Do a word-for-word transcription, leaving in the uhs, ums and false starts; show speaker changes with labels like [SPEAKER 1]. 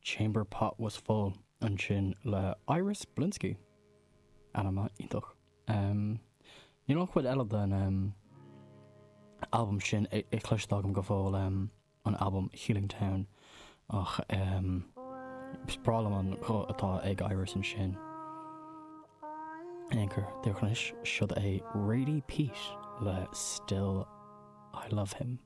[SPEAKER 1] Chamber Pot Was Full ansin le Iris Blinsky ainm iontach. Um, Níl an chuid eile den um, album sin cloiste agam go fóill um, an album Healing Town ach um, is breá liom an guth atá ag Iris ansin. Anchor de chnis siod é Radie Pete le Still I Love Him.